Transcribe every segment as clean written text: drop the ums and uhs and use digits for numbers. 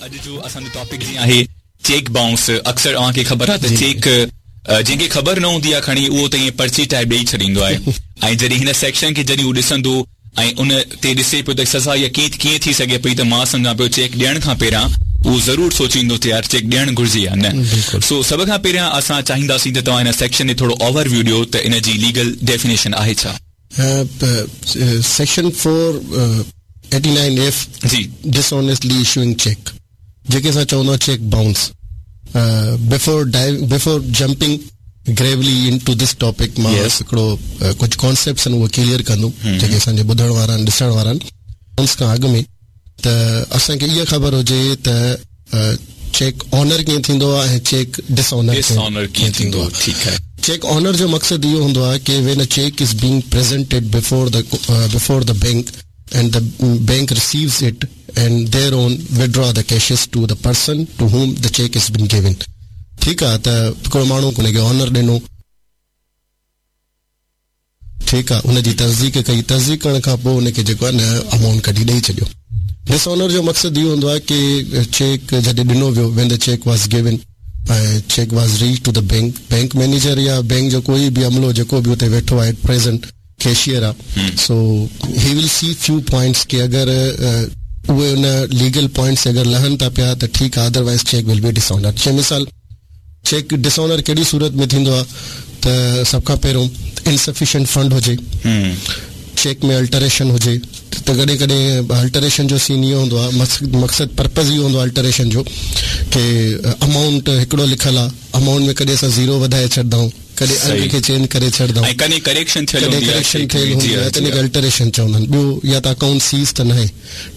اڄ جو اسان جو ٽاپڪ جيئن آهي چيڪ بائونس اڪثر اوهان کي خبر آهي ته چيڪ جنهن کي خبر نه هوندي آهي کڻي اهو ته ائين پرچي ٽائيپ ڏئي ڇڏيندو آهي ۽ جڏهن هن سيڪشن کي جڏهن هو ڏسندو ۽ ان تي ڏسي پيو ته سزا اها ڪيئن ڪيئن ٿي سگهي پئي ته مان سمجهان پيو چيڪ ڏيڻ کان پهريان اهو ضرور سوچيندو ته يار چيڪ ڏيڻ گهرجي يا نه سو سڀ کان پهريان اسان چاهينداسين ته توهان هن سيڪشن تي ٿورو اوور ويو ڏيو ته ان جي ليگل ڊيفينيشن آهي ڇا؟ سيڪشن 489 ايف جي. ڊس اونيسٽلي اشوئنگ چيڪ جيڪي اسان چوندا آهيون cheque bounce before before jumping gravely into this topic مان هڪڙو ڪجهه ڪانسيپٽس آهن اهي ڪليئر ڪندم جيڪي اسان جي ٻڌڻ وارا آهن ڏسڻ وارا آهن بائونس کان اڳ ۾ ته اسان کي اها خبر هجي ته چيڪ آنر ڪيئن ٿيندو آهي ۽ چيڪ ڊس آنر ڪيئن ٿيندو آهي. ٺيڪ آهي. چيڪ آنر جو مقصد اهو هوندو آهي ڪي when a cheque is being presented before the before the bank and the bank receives it and their own withdraw the cashes to the person to whom the cheque is been given ٺيڪ آهي ته هڪڙو ماڻهو ان کي honour ڏنو ٺيڪ آ ان جي تصديق ڪئي تصديق ڪرڻ کان پوء ان کي جيڪو آ نه امائونٽ ڪڍي ڏئي ڇڏيو ڊس آنر جو مقصد اهو هوندو آ ڪي چيڪ جڏهن ڏنو ويو when the cheque was given ۽ cheque was reach to the bank bank manager يا بينڪ جو ڪوئي به عملو جيڪو به اتي ويٺو آ ايٽ پريزنٽ ڪيشيئر آ so he will see few points ڪي اگر اهي ان ليگل پوائنٽس اگر لهن ٿا پيا ته ٺيڪ آ otherwise cheque will be dishonour جي مثال چيڪ ڊس آنر ڪهڙي صورت ۾ ٿيندو آهي ته سڀ کان پهريون انسفيشنٽ فنڊ هجي، چيڪ ۾ الٽريشن هجي ته ڪڏهن ڪڏهن الٽريشن جو سين اهو هوندو آهي مقصد پرپز اهو هوندو آهي الٽريشن جو ڪي امائونٽ هڪڙو لکيل آهي امائونٽ ۾ ڪڏهن اسان زيرو وڌائي ڇڏندا آهيون ڪڏهن انگ کي چينج ڪري ڇڏندا آهيون ۽ ڪڏهن ڪريڪشن ٿيل هوندي آهي ڪريڪشن ٿيل هوندي آهي ته ان کي الٽريشن چوندا آهن ٻيو يا ته اڪائونٽ سيز ته ناهي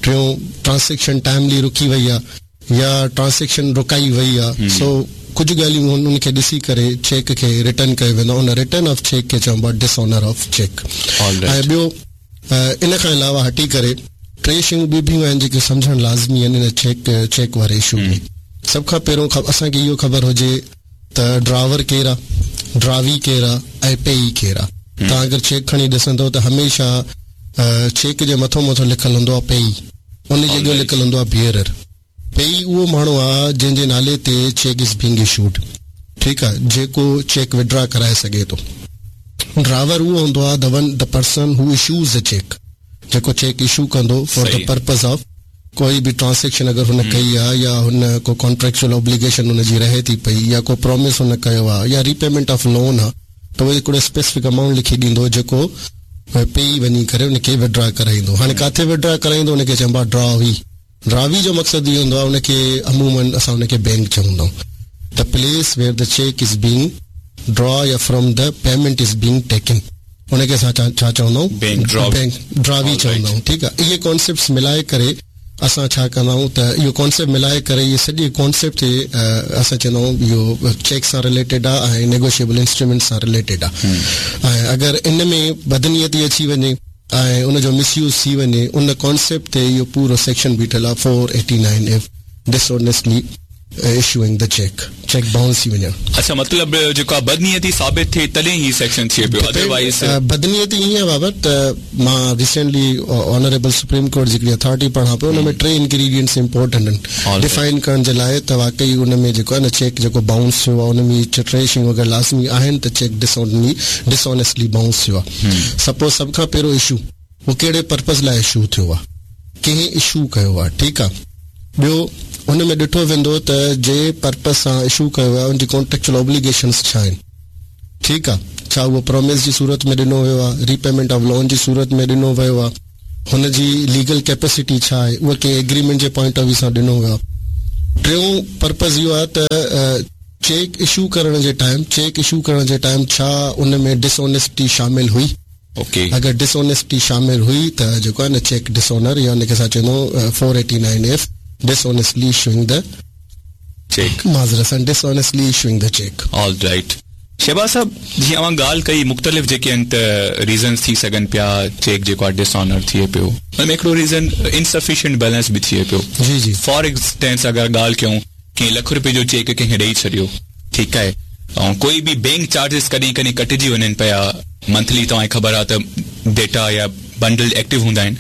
ٽيون ٽرانسيڪشن ٽائملي رڪي وئي آهي يا ٽرانسيڪشن رڪائي وئي آ سو ڪجهه ڳالهيون هن ان کي ڏسي ڪري چيڪ کي ريٽرن ڪيو ويندو آ ان ريٽرن آف چيڪ کي چئبو آ ڊس آنر آف چيڪ ۽ ٻيو ان کان علاوه هٽي ڪري ٽي شيون ٻيون به آهن جيڪي سمجهڻ لازمي آهن ان چيڪ چيڪ واري اشو ۾ سڀ کان پهريون اسان کي اهو خبر هجي ته ڊراور ڪير آ ڊراوي ڪير آ ۽ پيئي ڪير آ توهان اگر چيڪ کڻي ڏسندو ته هميشه چيڪ جي مٿو مٿو لکيل هوندو آ پيئي ان جي اڳيان لکيل هوندو آهي بيئرر. پيئي اهو ماڻهو آهي جنهن جي نالي تي چيڪ is being issued ٺيڪ آهي جيڪو چيڪ وڊرا ڪرائي سگهي ٿو. ڊراور اهو هوندو آهي the one the person who issues the cheque جيڪو چيڪ اشو ڪندو فار the purpose of ڪوئي به ٽرانسيڪشن اگر هن ڪئي آهي يا هن ڪو ڪانٽريڪچوئل اوبليگيشن هن جي رهي ٿي پئي يا ڪو پرامس هن ڪيو آهي يا ريپيمينٽ آف لون آهي ته اهو هڪڙو اسپيسفڪ امائونٽ لکي ڏيندو جيڪو پيئي وڃي ڪري ان کي وڊرا ڪرائيندو. هاڻي ڪاٿي وڊرا ڪرائيندو ان کي چئبو آهي ڊراوي. ڊراوي جو مقصد اهو هوندو آهي ان کي عموماً اسان ان کي بينڪ چوندا آهيون the place where the cheque is being draw يا from the payment is being taken ان کي اسان ڇا چوندا آهيون بينڪ ڊراوي چوندا آهيون ٺيڪ آهي اهي ڪانسيپٽس ملائي ڪري اسان ڇا ڪندا آهيون ته اهو ڪانسيپٽ ملائي ڪري اهي سڄي ڪانسيپٽ تي اسان چوندا آهيون اهو چيڪ سان رليٽيڊ آهي ۽ نيگوشيبل انسٽرومينٽ سان رليٽيڊ آهي ۽ اگر ان ۾ بدنيتي اچي وڃي ۽ ان جو مس يوز ٿي وڃي ان ڪانسيپٽ تي اهو پورو سيڪشن بيٺل آهي 489 F ڊسونيسٽلي issuing the cheque cheque bounce ٿي وڃڻ. اڇا مطلب جيڪو آ بدنيتي ثابت ٿئي تڏهن هي سيڪشن ٿئي پيو ادروائيز. بدنيتي ائين آ بابا ته مان ريسينٽلي آنريبل سپريم ڪورٽ جي هڪڙي اٿارٽي پڙهان پيو ان ۾ ٽي انگريڊينٽس امپورٽنٽ آهن ڊفائن ڪرڻ جي لاء ته واقعي ان ۾ جيڪو آ نه چيڪ جيڪو بائونس ٿيو آ ان ۾ هي ٽي شيون اگر لازمي آهن ته چيڪ ڊسآنيسٽلي بائونس ٿيو آ سپوز سڀ کان پهريون اشو اهو ڪهڙي پرپز لاء اشو ٿيو آ ڪنهن اشو ڪيو آ ٺيڪ آ ٻيو ان ۾ ڏٺو ويندو ته جنهن پرپز سان اشو ڪيو ويو آ ان جي ڪانٽريڪچوئل اوبليگيشنز ڇا آهن ٺيڪ آ ڇا اهو پروميس جي صورت ۾ ڏنو ويو آ ريپيمينٽ آف لون جي صورت ۾ ڏنو ويو آ هن جي ليگل ڪيپيسٽي ڇا آهي اهو ڪنهن ايگريمينٽ جي پوائنٽ آف ويو سان ڏنو ويو آ ٽيون پرپز اهو آ ته چيڪ اشو ڪرڻ جي ٽائيم چيڪ اشو ڪرڻ جي ٽائيم ڇا ان ۾ ڊس اونيسٽي شامل هئي اوڪي. اگر ڊس اونيسٽي شامل هئي ته جيڪو آهي نه چيڪ ڊس اونر يا ان کي اسان چوندا آهيون 489 if this honestly issuing the check. معذرت سان this honestly issuing the check. All right Shahbaz صاحب جيئن اوهان ڳالهه ڪئي مختلف جيڪي آهن ته ريزنز ٿي سگهن پيا چيڪ جيڪو آهي ڊس آنر ٿئي پيو ان ۾ هڪڙو ريزن انسفيشنٽ بيلنس به ٿئي پيو جي جي. فار انسٽنس اگر ڳالهه ڪيون ڪنهن لک روپين جو چيڪ ڪنهن کي ڏئي ڇڏيو ٺيڪ آهي ۽ ڪوئي به بينڪ چارجز ڪڏهن ڪڏهن ڪٽجي وڃن پيا منٿلي توهان کي خبر آهي ته ڊيٽا يا بنڊل ايڪٽو هوندا آهن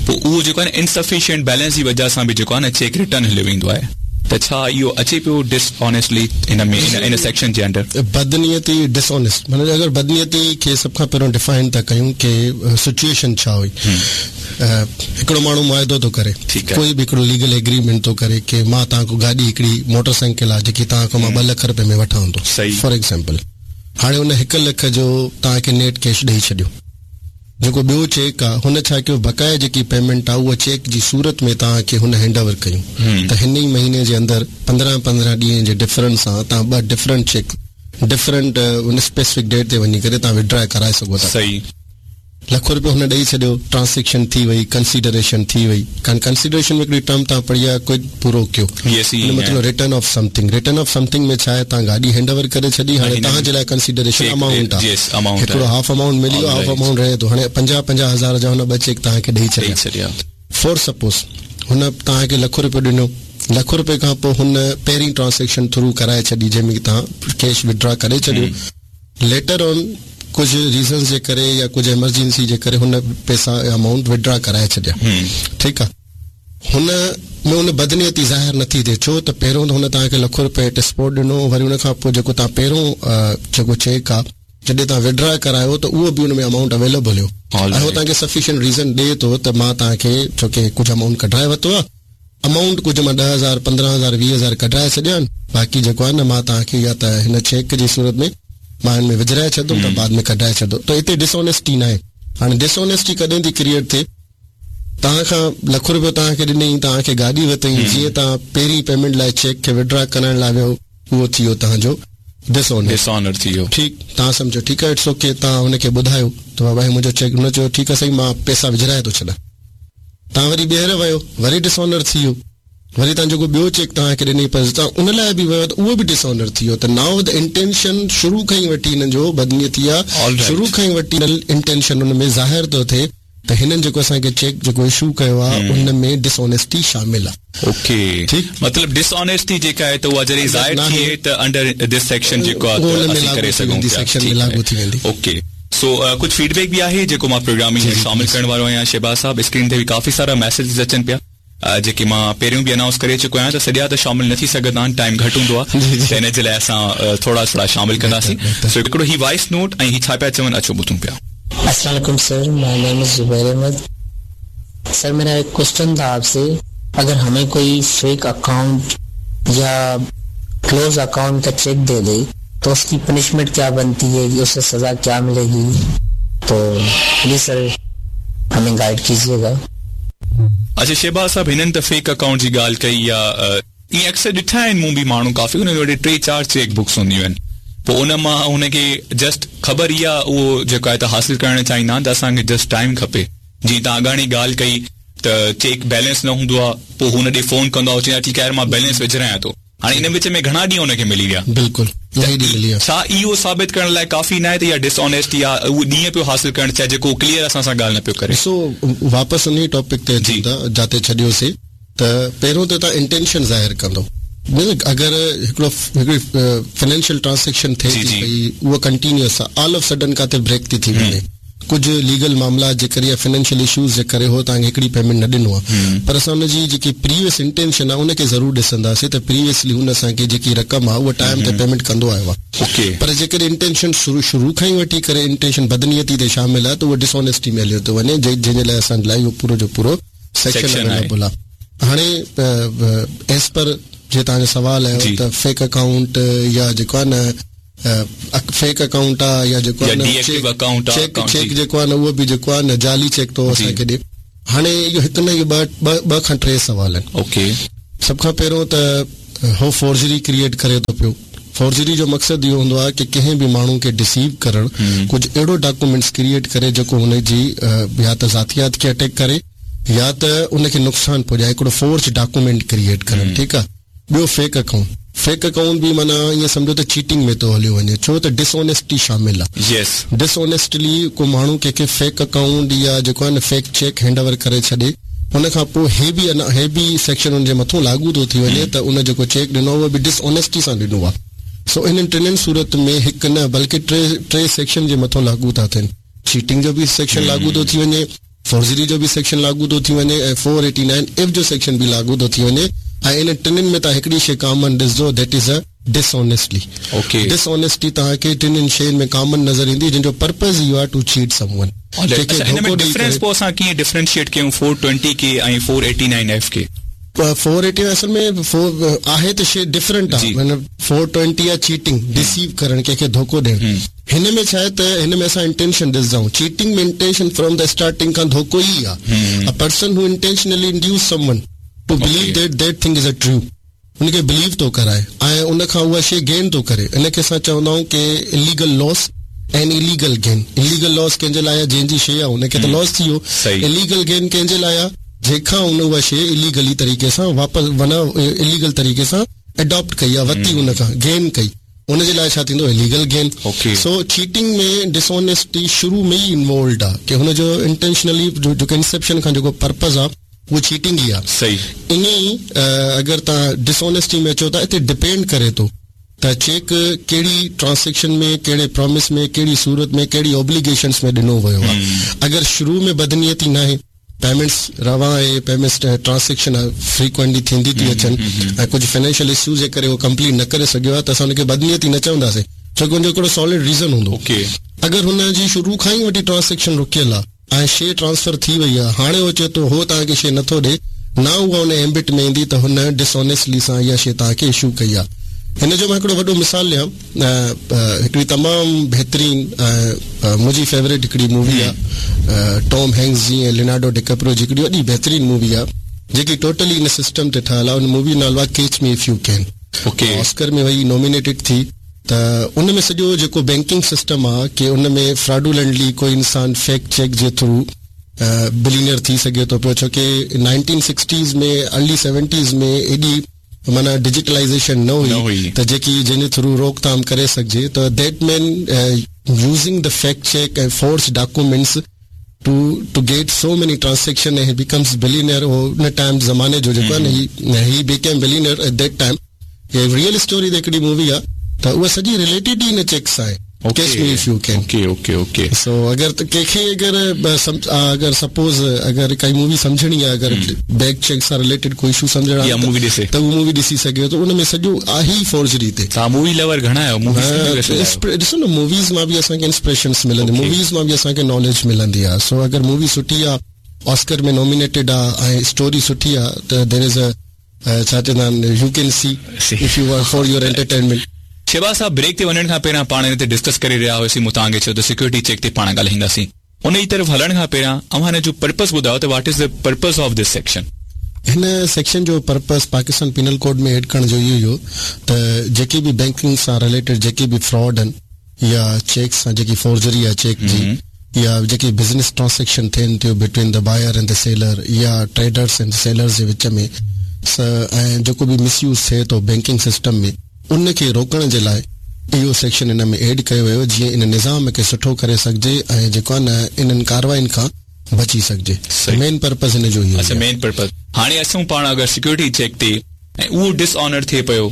پوء اهو جيڪو آهي نه انسفيشنٽ بيلنس جي وجه سان به جيڪو آهي نه چيڪ ريٽرن هليو ويندو آهي ته ڇا اهو اچي پيو ڊس آنيسٽلي ان ۾ ان سيڪشن جي انڊر؟ بدنيتي ڊس آنيسٽ معنيٰ اگر بدنيتي کي سڀ کان پهريون ڊفائن ٿا ڪيون ڪي سچوئيشن ڇا هئي هڪڙو ماڻهو معاهدو ٿو ڪري ڪوئي به هڪڙو ليگل ايگريمينٽ ٿو ڪري ڪي مان توهان کان گاڏي هڪڙي موٽر سائيڪل آهي جيڪي توهان کان مان 2 لک رپئي ۾ وٺان ٿو فار ايگزامپل هاڻي ان 1 لک جو توهان کي نيٽ ڪيش ڏئي ڇڏيو جيڪو ٻيو چيڪ آ هن ڇا ڪيو بقايا جيڪي پيمينٽ آ اها چيڪ جي صورت ۾ توهان کي هن هينڊ اوور ڪيون ته هن ئي مهيني جي اندر 15 15 ڏينهن جي ڊفرنس سان توهان ٻه ڊفرنٽ چيڪ ڊفرنٽ ان اسپيسفڪ ڊيٽ تي وڃي ڪري توهان وڊرا ڪرائي سگهو ٿا. صحيح. لک روپيو هن ڏئي ڇڏيو ٽرانسيڪشن ٿي وئي ڪنسيڊريشن ٿي وئي ڪان ڪنسيڊريشن ۾ هڪڙي ٽرم توهان پڙهي آ ڪوئڊ پرو ڪيو ان مطلب return of something return of something ۾ ڇا آهي توهان گاڏي هينڊ اوور ڪري ڇڏي هاڻي توهان جي لاء ڪنسيڊريشن امائونٽ آهي هڪڙو هاف امائونٽ ملي ويو هاف امائونٽ رهي ٿو هاڻي 50 50 هزار جا هن ٻه چيڪ توهان کي ڏئي ڇڏيا فور سپوز هن توهان کي لک روپيو ڏنو لک روپئي کان پوء هن پهرين ٽرانسيڪشن ٿرو ڪرائي ڇڏي جنهن ۾ توهان ڪيش وڊرا ڪري ڇڏيو ليٽر آن ڪجهه ريزنز جي ڪري يا ڪجهه ايمرجنسي جي ڪري هن پئسا يا امائونٽ وڊرا ڪرائي ڇڏيا ٺيڪ آهي هن ۾ ان بدنيتي ظاهر نٿي ٿئي ڇو ته پهريون ته هن توهان کي لک روپئي ايٽ اسپاٽ ڏنو وري ان کان پوء جيڪو توهان پهريون جيڪو چيڪ آ جڏهن توهان وڊرا ڪرايو ته اهو به ان ۾ امائونٽ اويليبل هيو ۽ هو توهان کي سفيشنٽ ريزن ڏئي ٿو ته مان توهان کي ڇو ڪي ڪجهه امائونٽ ڪڍرائي ورتو آ امائونٽ ڪجهه مان 10,000 15,000 20,000 ڪڍرائي ڇڏيا آهن باقي جيڪو آهي نه مان توهان کي يا ته هن چيڪ جي صورت ۾ مان هن ۾ وجهرائي ڇڏندم ته بعد ۾ ڪڍرائي ڇڏندو ته هتي ڊس آنيسٽي ناهي هاڻي ڊس آنيسٽي ڪڏهن ٿي ڪريئيٽ ٿئي توهان کان لک روپيو توهان کي ڏنئي، توهان کي گاڏي ورتئي، جيئن توهان پهرين پيمينٽ لاء چيڪ کي وڊرا ڪرائڻ لاء ويو، اهو ٿي ويو توهان جو ڊس آنر. ڊس آنر ٿي ويو. ٺيڪ، توهان سمجهيو ٺيڪ آهي it's okay, توهان هن کي ٻڌايو ته بابا هي منهنجو چيڪ، هن چيو ٺيڪ آهي سائين مان پئسا وجهرائي ٿو ڇڏان. توهان وري ٻيهر ويو، وري ڊس آنر ٿي ويو. وري توهان جيڪو ٻيو چيڪ توهان کي ڏنئي پر توهان ان لاء به ويو ته اهو به ڊس آنر ٿي ويو ته نائو the intention شروع کان ئي وٺي هنن جو بدنيتي آهي، شروع کان ئي وٺي انٽينشن ان ۾ ظاهر ٿو ٿئي. ته هنن جيڪو اسان کي چيڪ جيڪو اشو ڪيو آ ان ۾ ڊس آنيسٽي شامل آ. اوڪي مطلب ڊس آنيسٽي جيڪا آهي ته اها جڏهن ظاهر ٿئي ته انڊر this section جيڪو آ ته اسين ڪري سگهون پيا ٺيڪ آهي اوڪي سو ڪجهه فيڊ بيڪ به آهي جيڪو مان پروگرام ۾ شامل ڪرڻ وارو آهيان شهباز صاحب اسڪرين تي به ڪافي سارا ميسيجز اچن پيا جيڪي مان پهريون به انائونس ڪري چڪو آهيان ته سڄا ته شامل نه ٿي سگهندا آهن ٽائيم گهٽ هوندو آهي ته ان جي لاء اسان ٿورا ٿورا شامل ڪنداسين سو هڪڙو هي وائس نوٽ ۽ هي ڇا پيا چون اچو ٻڌون پيا. السلام عليڪم sir my name is Zubair Ahmed sir मेरा एक क्वेश्चन था आपसे अगर हमें कोई फेक अकाउंट या क्लोज अकाउंट का चेक दे दे तो उसकी पनिशमेंट क्या बनती है उसे सजा क्या मिलेगी तो प्लीज सर हमें गाइड कीजिएगा। اڇا شهباز صاحب هنن ته فيڪ اڪائونٽ جي ڳالهه ڪئي يا ائين اڪثر ڏٺا آهن مون به ماڻهو ڪافي انهن وٽ ٽي چار چيڪ بڪس هونديون آهن پوء ان مان هن کي جسٽ خبر اها اهو جيڪو آهي ته حاصل ڪرڻ چاهيندا آهن ته اسان کي جسٽ ٽائيم کپي جيئن توهان اڳاڻي ڳالهه ڪئي ته چيڪ بيلنس نه هوندو آهي پوء هو هن ڏي فون ڪندو آهي چوندو آهي ٺيڪ آهي يار مان بيلنس وجهرايان ٿو هاڻي ان وچ ۾ گهڻا ڏينهن هن کي ملي ويا. بلڪل الاهي ڏينهن ملي ويا. ڇا اهو ثابت ڪرڻ لاء ڪافي ناهي ته اها ڊس آنيسٽي آهي اهو ڏينهن پيو حاصل ڪرڻ چاهي جيڪو ڪليئر اسان سان ڳالهه نه پيو ڪري. ڏسو واپس انهي ٽاپڪ تي اچون ٿا جاتي ڇڏيوسي ته پهريون ته توهان انٽينشن ظاهر ڪندو اگر هڪڙو هڪڙي فنانشل ٽرانسيڪشن ٿئي ٿي پئي اها ڪنٽينيوس آهي آل آف سڊن ڪاٿي بريڪ ٿي ٿي وڃي ڪجهه ليگل معاملات جي ڪري يا فنانشل اشوز جي ڪري هو توهان کي هڪڙي پيمينٽ نه ڏنو آهي پر اسان ان جي جيڪي پريويس انٽينشن آهي ان کي ضرور ڏسنداسين ته پريويسلي هن اسان کي جيڪي رقم آهي اها ٽائيم تي پيمينٽ ڪندو آيو آهي پر جيڪڏهن انٽينشن شروع شروع کان ئي وٺي ڪري انٽينشن بدنيتي تي شامل آهي ته اها ڊس آنيسٽي ۾ هليو ٿو وڃي جنهن جي لاء اسان لاء اهو پورو جو پورو سيڪشن اويليبل آهي هاڻي ايز پر جي توهان جو سوال آيو ته فيڪ اڪائونٽ يا جيڪو آهي نه فيڪ اڪائونٽ آ يا جيڪو آ نه چيڪ چيڪ جيڪو آ نه اهو به جيڪو آ نه جعلي چيڪ ٿو اسان کي ڏي هاڻي اهو هڪ نه اهو ٻه ٻه ٻه کان ٽي سوال آهن اوڪي سڀ کان پهريون ته هو فورجري ڪريئيٽ ڪري ٿو پيو فورجري جو مقصد اهو هوندو آهي ڪي ڪنهن به ماڻهو کي ڊسيو ڪرڻ ڪجهه اهڙو ڊاڪومينٽس ڪريئيٽ ڪري جيڪو هن جي يا ته ذاتيات کي اٽيڪ ڪري يا ته ان کي نقصان پڄائي هڪڙو فورج ڊاڪومينٽ ڪريئيٽ ڪرڻ ٺيڪ آ ٻيو فيڪ اڪائونٽ، فيڪ اڪائونٽ به معنيٰ ائين سمجهو ته چيٽنگ ۾ ٿو هليو وڃي ڇو ته ڊس آنيسٽي شامل آ. يس. ڊس آنيسٽلي ڪو ماڻهو ڪنهن کي فيڪ اڪائونٽ يا جيڪو آهي نه فيڪ چيڪ هينڊ اوور ڪري ڇڏي ان کان پوء هي به انا هي به سيڪشن ان جي مٿون لاڳو ٿو ٿي وڃي ته ان جيڪو چيڪ ڏنو آ اهو به ڊس آنيسٽي سان ڏنو آ سو انهن ٽنهن صورت ۾ هڪ نه بلڪه ٽي ٽي سيڪشن جي مٿون لاڳو ٿا ٿين چيٽنگ جو به سيڪشن لاڳو ٿو ٿي وڃي. فورجري جو به سيڪشن لاڳو ٿو ٿي وڃي ۽ 489 ايف جو سيڪشن به لاڳو ٿو ٿي وڃي ۽ انهن ٽنهين ۾ توهان هڪڙي شيء ڪامن ڏسندو that is a dishonestly dishonesty توهان کي ٽنهين شين ۾ ڪامن نظر ايندي جنهن جو پرپز اهو آهي ٽو چيٽ سم ون ڪنهن کي ڌوڪو ڏئي ڪري. پوء اسان ڪيئن ڊفرينشيئيٽ ڪيون 420 کي ۽ 489 ايف کي؟ 489 اصل ۾ آهي ته شيء ڊفرنٽ آهي معنيٰ 420 آهي چيٽنگ ڊسيو ڪرڻ ڪنهن کي ڌوڪو ڏيڻ هن ۾ ڇا آهي ته هن ۾ اسان انٽينشن ڏسندا آهيون chatting ۾ intention from the starting کان ڌوڪو ئي آهي a person who intentionally induce someone to believe that that thing is a true ان کي بليو ٿو ڪرائي ۽ ان کان اها شيء گين ٿو ڪري ان کي اسان چوندا آهيون ڪي illegal loss ۽ illegal gain illegal loss ڪنهن جي لاء آهي جنهن جي شيء آهي ان کي ته لاس ٿي ويو اليگل گين ڪنهن جي لاء آهي جنهن کان ان اها شيء اليگلي طريقي سان واپس معنيٰ اليگل طريقي سان اڊاپٽ ڪئي آهي ورتي ان کان گين ڪئي ان جي لاء ڇا ٿيندو اليگل گين سو چيٽنگ ۾ ڊسآنيسٽي شروع ۾ ئي انوالوڊ آهي ڪي هن جو انٽينشنلي جيڪو انسيپشن کان جيڪو پرپز آهي اهو چيٽنگ ئي آهي ائين ئي اگر توهان ڊسآنيسٽي ۾ اچو ٿا اتي ڊپينڊ ڪري ٿو ته چيڪ ڪهڙي ٽرانسيڪشن ۾ ڪهڙي پرامس ۾ ڪهڙي صورت ۾ ڪهڙي اوبليگيشنس ۾ ڏنو ويو آهي اگر شروع ۾ بدنيتي ناهي پيمينٽس روان آهي پيمينٽس ٽرانسيڪشن فريڪوئنٽلي ٿيندي ٿي اچن ۽ ڪجهه فنانشل اشوز جي ڪري اهو ڪمپليٽ نه ڪري سگهيو آهي ته اسان ان کي بدنيتي نه چونداسين ڇو ڪه ان جو هڪڙو سالڊ ريزن هوندو اگر هن جي شروع کان ئي وٺي ٽرانسيڪشن رڪيل آهي ۽ شيء ٽرانسفر ٿي وئي آهي هاڻي هو چئي ٿو هو توهان کي شيء نٿو ڏي نه اها ان ايمبٽ ۾ ايندي ته هن ڊس آنيسٽلي سان اها شيء توهان کي اشو ڪئي آهي هن جو مان هڪڙو وڏو مثال ڏيان هڪڙي تمام بهترين ۽ منهنجي فيوريٽ هڪڙي مووي آهي ٽام هينڪس جي ۽ لينارڊو ڊيڪپرو جي هڪڙي وڏي بهترين مووي آهي جيڪي ٽوٽلي ان سسٽم تي ٺهيل آهي ان مووي جو نالو آهي catch me if you can Oscar ۾ وئي نومينيٽيڊ ٿي ته ان ۾ سڄو جيڪو بينڪنگ سسٽم آ ڪي ان ۾ فراڊولنٽلي ڪوئي انسان فيڪ چيڪ جي ٿرو بلينئر ٿي سگهي ٿو پيو ڇو ڪي نائنٽين سڪسٽيز ۾ ارلي سيونٽيز ۾ ايڏي معنيٰ ڊجيٽلائيزيشن نه هئي ته جيڪي جنهن جي ٿرو روڪ ٿام ڪري سگهجي ته that man using the fake cheque ۽ forged documents to to get so many transaction ۽ he becomes billionaire هو ان ٽائيم زماني جو جيڪو آهي نه he he became billionaire at that time he real story تي هڪڙي مووي آهي ته اها سڄي رليٽيڊ ئي ان چيڪ سان آهي catch me if you can okay okay okay so اگر ڪنهن کي اگر اگر سپوز اگر ڪائي مووي سمجهڻي آهي اگر بيڪ چيڪ سان رليٽيڊ ڪوئي اشو سمجهڻ آهي مووي ڏسي ته اهو مووي ڏسي سگهي ٿو ان ۾ سڄو آهي ئي فورجري تي توهان مووي لور گهڻا آهيو موويز ڏسو نه موويز مان به اسان کي انسپريشنس ملندي موويز مان به اسان کي ناليج ملندي آهي سو اگر مووي سٺي آهي آسڪر ۾ نومينيٽيڊ آهي ۽ اسٽوري سٺي آهي ته دير از ا ڇا چوندا آهن you can see if you want for your entertainment. Shahbaz صاحب بريڪ تي وڃڻ کان پهريان پاڻ ان تي ڊسڪس ڪري رهيا هيوسين مون توهان کي چيو ته سيڪيورٽي چيڪ تي پاڻ ڳالهائينداسين ان جي طرف هلڻ کان پهريان اوهان هن جو پرپس ٻڌايو ته what is the purpose of this section. هن سيڪشن جو purpose Pakistan penal code ۾ add ڪرڻ جو اهو ئي هو ته جيڪي به بينڪنگ سان رليٽيڊ جيڪي به فراڊ آهن يا چيڪس سان جيڪي فورجري آهي چيڪ جي يا جيڪي بزنس ٽرانسيڪشن ٿين ٿيون between the buyer and the seller يا ٽريڊرس اينڊ سيلرز جي وچ ۾ ۽ جيڪو به مس يوز ٿئي ٿو بينڪنگ سسٽم ۾ ان کي روڪڻ جي لاء اهو سيڪشن ان ۾ ايڊ ڪيو ويو جيئن ان نظام کي سٺو ڪري سگهجي ۽ جيڪو آهي نه انهن ڪارواين کان بچي سگهجي مين پرپز ان جو اهو ئي اڇا مين پرپز هاڻي اچون پاڻ اگر سيڪيورٽي چيڪ تي ۽ اهو ڊس آنر ٿئي پيو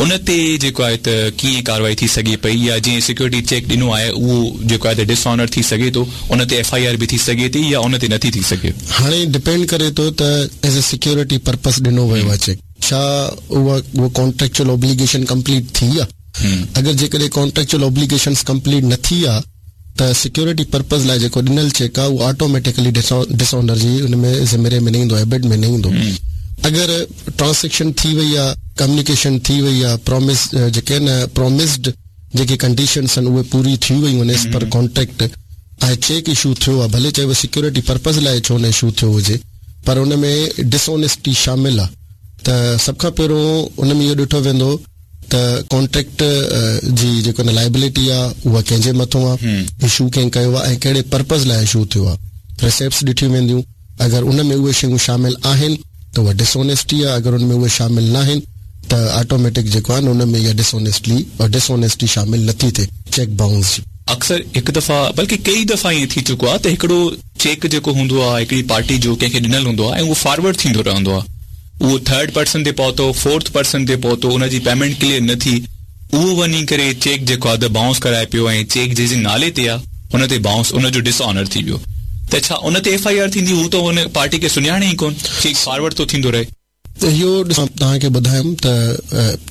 ان تي جيڪو آهي ته ڪيئن ڪارروائي ٿي سگهي پئي يا جنهن سيڪيورٽي چيڪ ڏنو آهي اهو جيڪو آهي ته ڊس آنر ٿي سگهي ٿو ان تي ايف I R به ٿي سگهي ٿي يا ان تي نٿي ٿي سگهي. هاڻي ڊپينڊ ڪري ٿو ته ايز اي سيڪيورٽي پرپز ڏنو ويو آهي چيڪ ڇا اها اهو ڪانٽريڪچوئل اوبليگيشن ڪمپليٽ ٿي آهي اگر جيڪڏهن ڪانٽريڪچوئل اوبليگيشنس ڪمپليٽ نه ٿي آهي ته سيڪيورٽي پرپز لاء جيڪو ڏنل چيڪ آهي اهو آٽوميٽيڪلي ڊس آنر جي ان ۾ ذمري ۾ نه ايندو ايمبٽ ۾ نه ايندو اگر ٽرانسيڪشن ٿي وئي آهي ڪميونيڪيشن ٿي وئي آهي پرامس جيڪي آهن پرامسڊ جيڪي ڪنڊيشنس آهن اهي پوري ٿي ويون آهن as per contract ۽ cheque issue ٿيو آهي ڀلي چاهي اهو سيڪيورٽي پرپز لاء ڇو نه اشو ٿيو هجي پر ان ۾ ڊس آنيسٽي شامل آهي ته سڀ کان پهريون ان ۾ اهو ڏٺو ويندو ته ڪانٽريڪٽ جي جيڪو نه لائبلٽي آ اها ڪنهن جي مٿون آ، اشو ڪنهن ڪيو آ ۽ ڪهڙي پرپز لاء اشو ٿيو آ. رسيپٽس ڏٺيون وينديون، اگر ان ۾ اهي شيون شامل آهن ته اها ڊس اونيسٽي آ، اگر ان ۾ اهي شامل ناهن ته آٽوميٽڪ جيڪو آ نه ان ۾ اها ڊس اونيسٽلي ڊس اونيسٽي شامل نٿي ٿئي چيڪ بائونس جي. اڪثر هڪ دفعا بلڪه ڪيئي دفعا ائين ٿي چڪو آ ته هڪڙو چيڪ جيڪو هوندو آ هڪڙي پارٽي جو ڪنهن کي ڏنل هوندو آ ۽ اهو فارورڊ ٿيندو رهندو آ. اهو ٿرڊ پرسن تي پهتو، فورٿ پرسن تي پهتو، ان جي پيمينٽ ڪليئر نه ٿي، اهو وڃي ڪري چيڪ جيڪو آهي ته بائونس ڪرائي پيو ۽ چيڪ جنهن جي نالي تي آهي ان تي بائونس ان جو ڊس آنر ٿي ويو. ته ڇا ان تي ايف I R ٿيندي هو ته ان پارٽي کي سڃاڻي ئي ڪون چيڪ فارورڊ ٿو ٿيندو رهي. اهو ڏسو توهان کي ٻڌايم ته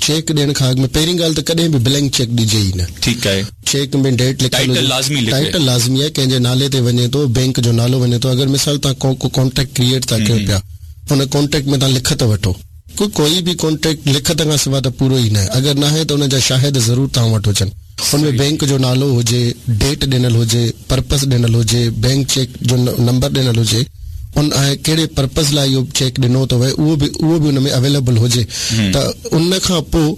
چيڪ ڏيڻ کان اڳ ۾ پهرين ڳالهه ته ڪڏهن به بلينڪ چيڪ ڏجي ئي نه. ٺيڪ آهي. چيڪ ۾ ڊيٽ لکيل هجي. ٽائيٽل لازمي لکي. ٽائيٽل لازمي آهي ڪنهن جي نالي تي وڃي ٿو بينڪ جو نالو وڃي ٿو اگر مثال توهان ڪو ڪو ڪانٽريڪٽ ڪريئيٽ ٿا ڪيو پيا ان ڪانٽريڪٽ ۾ توهان لکت وٺو ڪو ڪوئي به ڪانٽريڪٽ لکت کان سوا ته پورو ئي ناهي اگر ناهي ته ان جا شاهد ضرور توهان وٽ هجن ان ۾ بينڪ جو نالو هجي ڊيٽ ڏنل هجي پرپز ڏنل هجي بينڪ چيڪ جو نمبر ڏنل هجي ان ۽ ڪهڙي پرپز لاء اهو چيڪ ڏنو ٿو وئي اهو به اهو به ان ۾ اويليبل هجي ته ان کان پوء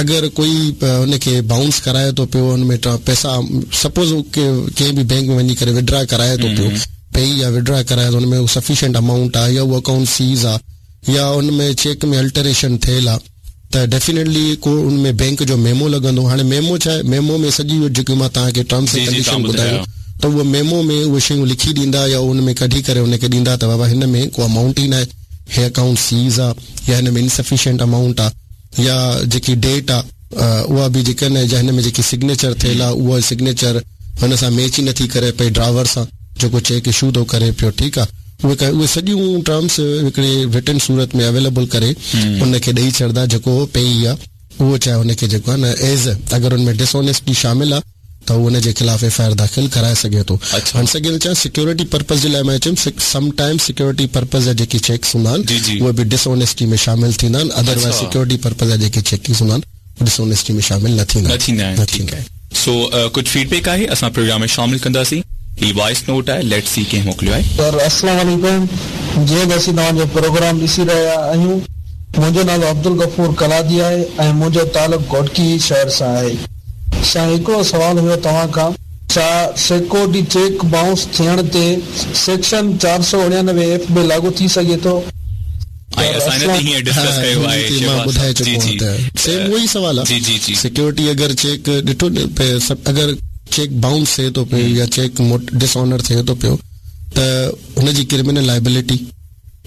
اگر ڪوئي ان کي بائونس ڪرائي ٿو پيو ان ۾ پئسا سپوز ڪنهن به بينڪ ۾ وڃي ڪري وڊرا ڪرائي ٿو پيو پئي يا وڊرا ڪرائي ٿو ان ۾ سفيشنٽ امائونٽ آهي يا اهو اڪائونٽ سيز آهي يا ان ۾ چيڪ ۾ الٽريشن ٿيل آهي ته ڊيفينيٽلي ڪو ان ۾ بينڪ جو ميمو لڳندو هاڻي ميمو ڇا آهي ميمو ۾ سڄي اهو جيڪي مان توهان کي ٽرمس ۽ ڪنڊيشن ٻڌايون ته اهو ميمو ۾ اهي شيون لکي ڏيندا يا ان ۾ ڪڍي ڪري ان کي ڏيندا ته بابا هن ۾ ڪو امائونٽ ئي ناهي هي اڪائونٽ سيز آ يا هن ۾ انسفيشنٽ امائونٽ آ يا جيڪي ڊيٽ آ اها به جيڪا نه يا هن ۾ جيڪي سگنيچر ٿيل آ اها سگنيچر هن سان ميچ ئي نٿي ڪري پئي ڊراور سان جيڪو چيڪ اشو ٿو ڪري پيو ٺيڪ آ اهي اهي سڄيون ٽرمس هڪڙي رٽن صورت ۾ اويليبل ڪري ان کي ڏئي ڇڏدا جيڪو پئي آ اهو چاهي ان کي جيڪو آ نه ايز اگر ان ۾ ڊس آنيسٽي شامل آ ته هو ان جي خلاف ايف I R داخل ڪرائي سگهي ٿو هاڻ سگهي ٿو چيان سيڪيورٽي پرپز جي لاء مان چيم سم ٽائيم سيڪيورٽي پرپز جا جيڪي چيڪس هوندا آهن اهي به ڊس آنيسٽي ۾ شامل ٿيندا آهن ادروائز سيڪيورٽي پرپز جا جيڪي چيڪس هوندا آهن ڊس آنيسٽي ۾ شامل نه ٿيندا آهن. ٺيڪ آهي سو ڪجهه فيڊ بيڪ آهي اسان پروگرام ۾ شامل ڪنداسين هي وائس نوٽ آهي ليٽس سي ڪنهن موڪليو آهي. سر السلام عليڪم جيئن ته اسين توهان جو پروگرام ڏسي رهيا آهيون منهنجو نالو عبدالغفور قلادي آهي ۽ منهنجو تعلق گهوٽڪي شهر سان آهي سائين هڪڙو سوال هيو توهان کان ڇا سيڪيورٽي چيڪ بائونس ٿيڻ تي سيڪشن 499 ايف به لاڳو ٿي سگهي ٿو؟ ۽ اسان هن تي هينئر ڊسڪس ڪيو آهي مان شهباز ٻڌائي صاحب جي چڪو جي آهيان ته سيم اهو ئي سوال آهي جي جي جي سيڪيورٽي اگر چيڪ ڏٺو اگر چيڪ بائونس ٿئي ٿو پيو يا چيڪ ڊس آنر ٿئي ٿو پيو ته ان جي ڪرمنل لائبلٽي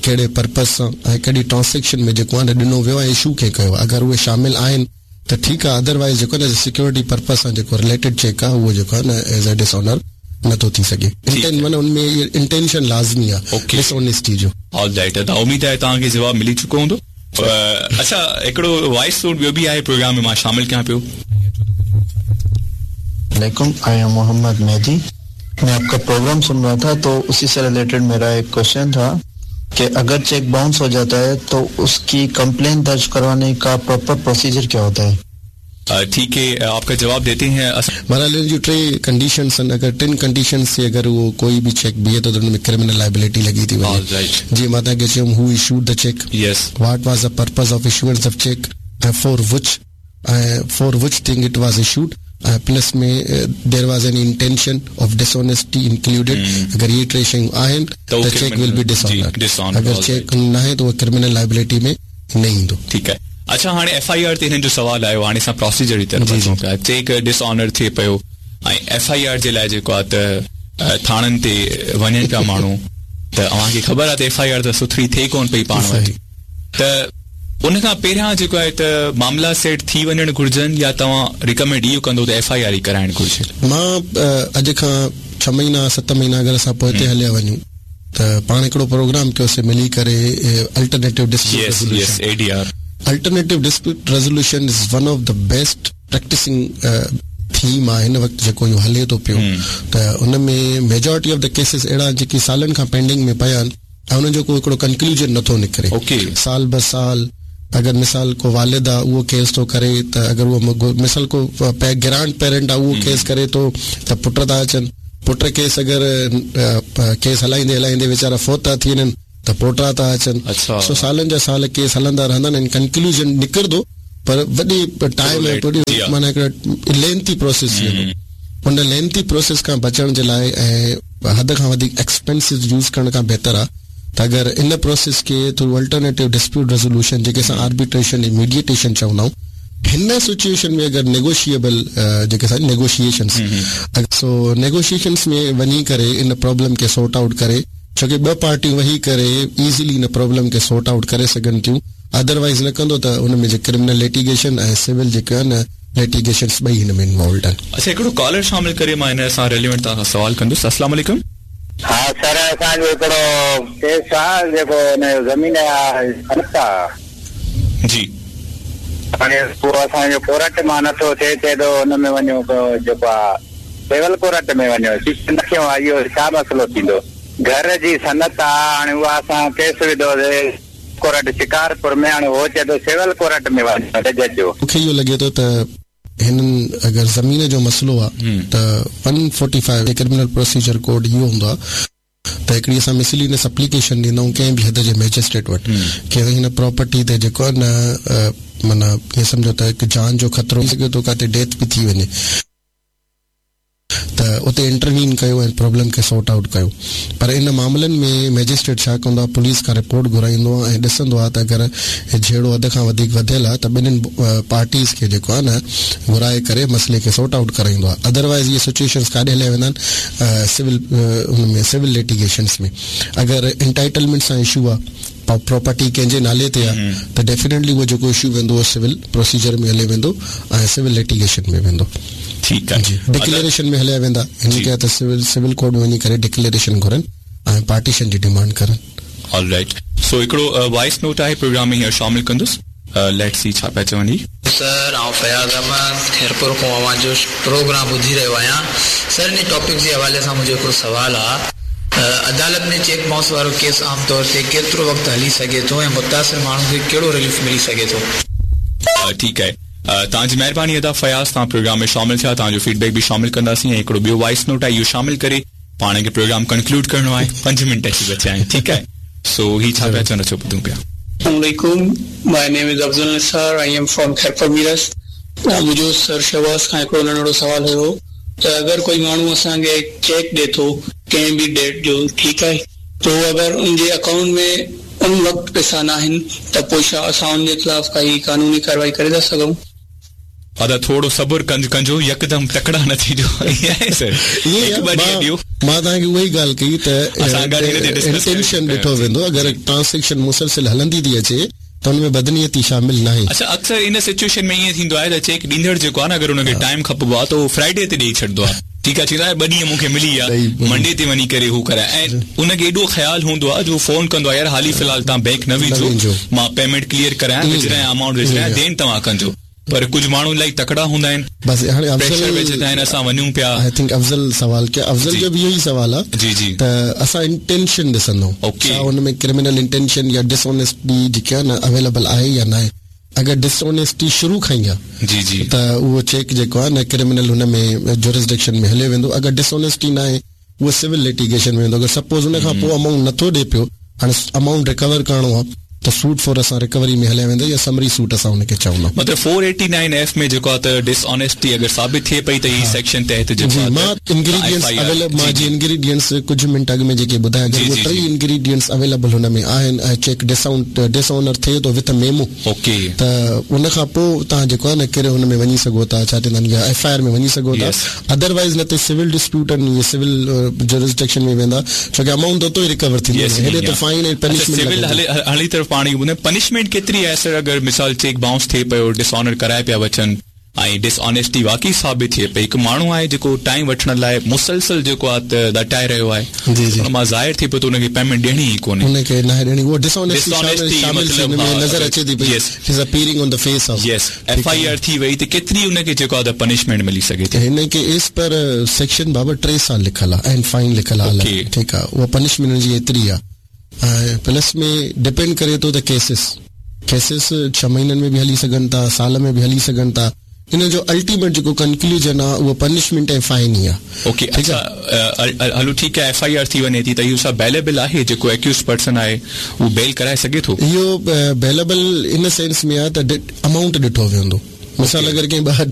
ڪهڙي پرپز سان ۽ ڪهڙي ٽرانسيڪشن ۾ جيڪو آهي نه ڏنو ويو ۽ اشو ڪنهن ڪيو اگر اهي شامل آهن ته ٺيڪ آهي ادروائيز جيڪو آهي نه سيڪيورٽي پرپز سان جيڪو رليٽيڊ چيڪ آهي اهو جيڪو آهي نه ايز اي ڊس آنر نٿو ٿي سگهي انٽين معنيٰ ان ۾ انٽينشن لازمي آهي ڊس آنيسٽي جو. آل رائيٽ ادا اميد آهي توهان کي جواب ملي چڪو هوندو اڇا هڪڙو وائس نوٽ ٻيو به آهي پروگرام ۾ مان شامل ڪيان پيو. عليڪم I am Muhammad Mehdi मैं आपका प्रोग्राम सुन रहा था तो उसी से रिलेटेड मेरा एक क्वेश्चन था कि अगर चेक बाउंस हो जाता है तो उसकी कंप्लेन दर्ज करवाने का प्रॉपर प्रोसीजर क्या होता है? ठीक है आपका जवाब देते हैं। बहरहाल इन जूं टे कंडीशंस आहिनि अगरि टिनि कंडीशंस ते अगरि उहो कोई बि चेक बीहे थो त हुन में क्रिमिनल लाइबिलिटी लॻी थी वञे। जीअं मां तव्हांखे चयुमि who issued the cheque, what was the purpose of issuance of cheque ۽ for which ۽ for which thing it was issued ۽ plus ۾ there was any intention of dishonesty included اگر اهي ٽي شيون آهن ته چيڪ ول بي ڊس آنرڊ اگر چيڪ ناهي ته اهو criminal liability ۾ نه ايندو. ٺيڪ آهي اڇا هاڻي ايف I R تي هنن جو سوال آيو هاڻي اسان پروسيجر جي طرف اچون پيا چيڪ ڊس آنر ٿئي پيو ۽ ايف I R جي لاء جيڪو آهي ته ٿاڻن تي وڃن پيا ماڻهو ته اوهان کي خبر آهي ته ايف I R ته سٿري ٿئي ڪونه پئي پاڻ وٽ ته ان کان پهريان جيڪو آهي ته معاملا سيٽ ٿي وڃڻ گهرجن يا توهان ريڪمينڊ اهو ڪندو ته ايف I R ئي ڪرائڻ گهرجي؟ مان اڄ کان ڇهه مهينا ست مهينا اگر اسان پوئتي هليا وڃون ته پاڻ هڪڙو پروگرام ڪيوسي ملي ڪري alternative dispute resolution A D R. Alternative dispute resolution is one of the best practicing theme آهي هن وقت جيڪو اهو هلي ٿو پيو ته ان ۾ ميجارٽي آف the cases اهڙا جيڪي سالن کان پينڊنگ ۾ پيا آهن ۽ انهن جو ڪو هڪڙو ڪنڪلوجن نٿو نڪري. سال به سال اگر مثال ڪو والد آ اهو ڪيس ٿو ڪري ته اگر اهو مثال ڪو گرانڊ پيرنٽ آ اهو ڪيس ڪري ٿو ته پٽ ٿا اچن پٽ ڪيس اگر ڪيس هلائيندي هلائيندي ويچارا فوت ٿا ٿي وڃن ته پوٽا ٿا اچن سو سالن جا سال ڪيس هلندا رهندا آهن ۽ ڪنڪلوجن نڪرندو پر وڏي ٽائيم ۽ وڏي معنيٰ هڪڙو لينٿي پروسيس ٿي ويندو ان لينٿي پروسيس کان بچڻ جي لاء ۽ حد کان وڌيڪ ايڪسپينسز يوز ڪرڻ کان بهتر آ ته اگر ان پروسيس کي ٿرو الٽرنيٽو ڊسپيوٽ ريزولوشن جيڪي اسان آربيٽريشن ۽ ميڊيئيٽيشن چوندا آهيون هن سچوئيشن ۾ اگر نيگوشيئبل جيڪي اسان نيگوشيئيشنس سو نيگوشيئيشنس ۾ وڃي ڪري ان پرابلم کي سورٽ آئوٽ ڪري ڇو ڪي ٻه پارٽيون ويهي ڪري ايزلي ان پرابلم کي سورٽ آئوٽ ڪري سگهن ٿيون ادروائيز نه ڪندو ته ان ۾ جي ڪرمنل ليٽيگيشن ۽ سول جيڪي آهن ليٽيگيشنس ٻئي هن ۾ انوالوڊ آهن. اڇا هڪڙو ڪالر شامل ڪري مان هن سان ريليونٽ توهان کان سوال ڪندس السلام عليڪم. ها سر اسان جو هڪڙو ڪيس آ جيڪو ان جو زمين جا سند آ. جي. هاڻي اهو اسان جو ڪورٽ مان نٿو ٿئي چئي ٿو ان ۾ وڃو جيڪو آ سول ڪورٽ ۾ وڃو سيشن نه ٿيو آ اهو ڇا مسئلو ٿيندو گهر جي سند آ هاڻي اها اسان ڪيس وڌو سي ڪورٽ شڪارپور ۾ هاڻي هو چئي ٿو سول ڪورٽ ۾ وڃو جج جو. مونکي اهو لڳي ٿو ته هنن اگر زمين جو مسئلو آ ته 145 ڪرمنل پروسيجر ڪوڊ اهو هوندو آ ته هڪڙي اسان مسلينس اپليڪيشن ڏيندا آهيون ڪنهن به حد جي مئجسٽريٽ وٽ ڪي هن پراپرٽي تي جيڪو آ نه معنيٰ ائين سمجهو ته هڪ جان جو خطرو ٿي سگهي ٿو ڪاٿي ڊيٿ به ٿي وڃي ته اتي انٽروين ڪيو ۽ پرابلم کي سارٽ آئوٽ ڪيو پر ان معاملن ۾ مئجسٽريٽ ڇا ڪندو آهي پوليس کان رپورٽ گهرائيندو آهي ۽ ڏسندو آهي ته اگر جهيڙو حد کان وڌيڪ وڌيل آهي ته ٻنهين پارٽيز کي جيڪو آهي نه گهرائي ڪري مسئلي کي سارٽ آئوٽ ڪرائيندو آهي ادروائيز اهي سچويشنز ڪاڏي هليا ويندا آهن سول ان ۾ سول لٽيگيشنز ۾ اگر انٽائيٽلمينٽ سان اشو آهي پراپرٽي ڪنهن جي نالي تي آهي ته ڊيفينيٽلي اهو جيڪو اشو ويندو اهو سول پروسيجر ۾ هلي ويندو ۽ سول لٽيگيشن ۾ ويندو. ٺيڪ آهي. جي ڊڪليريشن ۾ هليا ويندا هن کي ته سول ڪورٽ ۾ وڃي ڪري ڊڪليريشن گهرن ۽ پارٽيشن جي ڊيمانڊ ڪرن. آل رائيٽ سو هڪڙو وائس نوٽ آهي پروگرام ۾ هينئر شامل ڪندس ليٽس سي ڇا پيا چون هي. سر آئون فياض احمد خيرپور کان اوهان جو پروگرام ٻڌي رهيو آهيان سر انهي ٽاپڪ جي حوالي سان منهنجو هڪڙو سوال آ ته عدالت ۾ چيڪ بائونس وارو ڪيس عام طور تي ڪيترو وقت هلي سگهي ٿو ۽ متاثر ماڻهو کي ڪهڙو رليف ملي سگهي ٿو. ٺيڪ آهي توهان جي مهرباني ادا فياض توهان پروگرام ۾ شامل ٿيا توهان جو فيڊ بيڪ به شامل ڪنداسين ۽ هڪڙو ٻيو وائس نوٽ آهي اهو شامل ڪري پاڻ کي پروگرام ڪنڪلوڊ ڪرڻو آهي پنج منٽ اچي بچيا آهن ٺيڪ آهي سو هي ڇا پيا چون اچو ٻڌون پيا. السلام عليڪم my name is Afzal Nisar I am from Khairpur Mirs منهنجو سر شهباز کان هڪڙو ننڍڙو سوال هيو ته اگر ڪوئي ماڻهو اسان کي چيڪ ڏي ٿو ڪنهن به ڊيٽ جو ٺيڪ آهي پوء اگر ان جي اڪائونٽ ۾ ان وقت پئسا ناهن ته پوء ڇا اسان ان جي خلاف ڪائي قانوني ڪارروائي ڪري ٿا سگهون؟ ادا ٿورو صبر ڪجو يڪدم تڪڙا نه ٿجو ائين آهي سر هڪ ٻه ڏينهن ڏيو. مان توهان کي اها ئي ڳالهه ڪئي ته انٽينشن ڏٺو ويندو اگر ٽرانسيڪشن مسلسل هلندي ٿي اچي ته ان ۾ بدنيتي شامل ناهي. اڇا اڪثر ان سچوئيشن ۾ ائين ٿيندو آهي ته چيڪ ڏيندڙ جيڪو آهي نه اگر ان کي ٽائيم کپبو آهي ته اهو فرائيڊي تي ڏئي ڇڏندو آهي ٺيڪ آهي چوندو آهي ٻه ڏينهن مون کي ملي ويا منڊي تي وڃي ڪري هو ڪرائي ۽ ان کي ايڏو خيال هوندو آهي جو فون ڪندو آهي يار حالي في الحال توهان بينڪ نه وڃجو مان پيمينٽ ڪليئر ڪرايان وجهرايان امائونٽ وجهرايان دين توهان ڪنجو. پر ڪجهه ماڻهو الاهي تڪڙا هوندا آهن بس هاڻي پريشر وجهندا آهن اسان وڃون پيا. I think افضل سوال ڪيو افضل جو به اهو ئي سوال آ جي جي ته اسان انٽينشن ڏسندو ڇا ان ۾ ڪرمنل انٽينشن يا ڊس اونيسٽي جيڪي آ نه اويليبل آهي يا ناهي اگر ڊس اونيسٽي شروع کان ئي آ جي جي ته اهو چيڪ جيڪو آ نه ڪرمنل هن ۾ جورسڊڪشن ۾ هليو ويندو اگر ڊس اونيسٽي ناهي اهو سول لٽيگيشن ۾ ويندو اگر سپوز ان کان پوء امائونٽ نٿو ڏي پيو هاڻي امائونٽ ريڪور ڪرڻو آ ته سوٽ فور اسان ريڪوري ۾ هليا ويندا يا سمري سوٽ اسان ان کي چوندا. مطلب فور ايٽي نائن ايف ۾ جيڪو آ ته ڊس آنيسٽي اگر ثابت ٿئي پئي ته هي سيڪشن تحت جيڪو جي مان انگريڊينٽس اويليبل مان جي انگريڊينٽس ڪجهه منٽ اڳ ۾ جيڪي ٻڌايا اگر اهي ٽئي انگريڊينٽس اويليبل هن ۾ آهن ۽ چيڪ ڊس آنر ٿئي ٿو وٿ ميمو اوڪي ته ان کان پوء توهان جيڪو آهي نه ڪري هن ۾ وڃي سگهو ٿا ڇا چوندا آهن يا ايف I R ۾ وڃي سگهو ٿا ادر وائيز نه ته سول ڊسپيوٽ آهن اهي سول جورسڊڪشن ۾ ويندا ڇو ڪي امائونٽ ته اتو ئي ريڪور ٿيندو نه هيڏي ته فائن ۽ پنشمينٽ سول هلي طرف پاڻ اهو ٻڌايو پنشمينٽ ڪيتري آهي سر اگر مثال چيڪ بائونس ٿئي پيو ڊس آنر ڪرائي پيا وچن ۽ ڊس آنيسٽي واقعي ثابت ٿئي پئي هڪ ماڻهو آهي جيڪو ٽائيم وٺڻ لاء مسلسل جيڪو آهي ته ڏٽائي رهيو آهي جي جي ان مان ظاهر ٿئي پيو ته ان کي پيمينٽ ڏيڻي ئي ڪونهي ان کي ناهي ڏيڻي اهو ڊس آنيسٽي شامل ٿي ان ۾ نظر اچي ٿي پئي is appearing on the face of yes F I R ٿي وئي ته ڪيتري ان کي جيڪو آهي ته پنشمينٽ ملي سگهي ٿي. هن کي ايز پر سيڪشن بابا ٽي سال لکل آهي ۽ فائن لکل آهي الڳ ٺيڪ آهي اها پنشمينٽ ان جي ايتري آهي ۽ پلس ۾ ڊپينڊ ڪري ٿو ته ڪيسز ڪيسز ڇهه مهينن ۾ به هلي سگهن ٿا سال ۾ به هلي سگهن ٿا ان جو الٽيميٽ جيڪو ڪنڪلوزن آهي اهو پنشمينٽ ۽ فائن ئي آهي. اوڪي اڇا هلو ٺيڪ آهي ايف I R ٿي وڃي ٿي ته اهو ڇا بيليبل آهي جيڪو ايڪيوزڊ پرسن آهي اهو بيل ڪرائي سگهي ٿو؟ اهو بيليبل ان سينس ۾ آهي ته امائونٽ ڏٺو ويندو مثال اگر ڪنهن ٻه ٽي